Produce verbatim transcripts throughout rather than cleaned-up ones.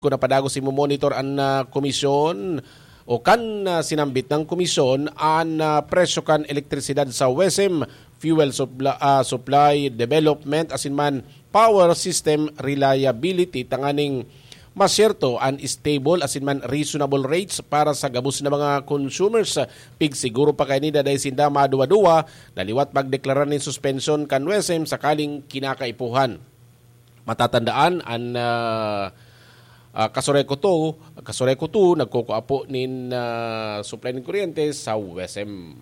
Kung napadagos imo monitor an, ah, komisyon o kan, ah, sinambit ng komisyon an, ah, presyo kan elektrisidad sa WESM, fuel supply, ah, supply development, asin man power system reliability, tanganing masyerto an stable asin man reasonable rates para sa gabos na mga consumers. Pigsiguro pa kaini na dai sinda maduwa-duwa na liwat magdeklara nin suspensyon kan WESM sakaling kinakaipuhan. Matatandaan, an, ah, ah, Kasureco two, Kasureco two, nagkukua po nin, ah, supply nin kuryente sa WESM.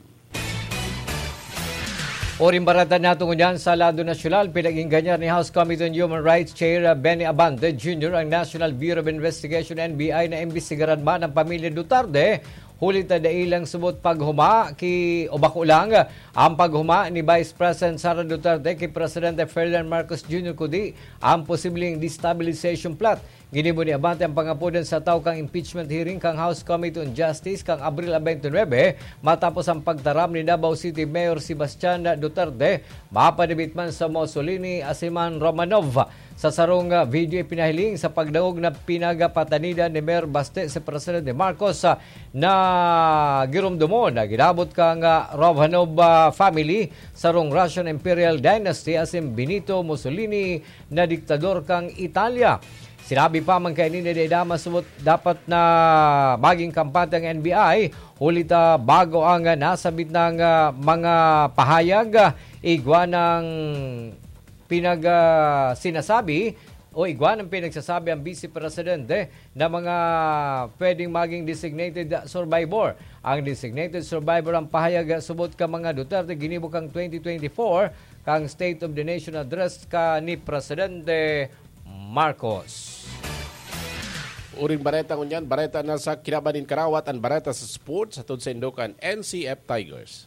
Uring bareta nato ngunyan sa lado nasyonal, pinag-ingganyan ni House Committee on Human Rights Chair, ah, Benny Abante Junior ang National Bureau of Investigation, N B I, na imbestigaran man ang pamilya Duterte, huli ta dai lang subot paghuma ki, o bako lang, ang paghuma ni Vice President Sara Duterte ki Presidente Ferdinand Marcos Junior, kundi ang posibleng destabilization plot. Ginibo ni Abante ang pangapodan sa taw kang impeachment hearing kang House Committee on Justice kang Abril twenty-nine, matapos ang pagtaram ni Davao City Mayor Sebastian Duterte, mapadibit man sa Mussolini asin man Romanov. Sa sarong, ah, video ipinahiling sa pagdangog na pinagapatanidan ni Mayor Baste si Presidente Marcos, ah, na giromdomon na ginabot kang, ah, Romanov, ah, family, sarong Russian Imperial Dynasty asin Benito Mussolini na diktador kang Italia. Sinabi pa man kaini na dai daman subot dapat na maging kampante ang N B I, huli ta bago ang, ah, nasabit ng, ah, mga pahayag, ah, igwa ng pinag, ah, sinasabi o igwa ng pinagsasabi ang Vice Presidente na mga pwedeng maging designated survivor. Ang designated survivor ang pahayag, ah, subot ka mga Duterte ginibo kang twenty twenty-four kang State of the Nation Address ka ni Presidente Marcos. Uring bareta ngunyan, bareta na sa kinaban nin karawat, an bareta sa sports, hatod sa Indokan N C F Tigers.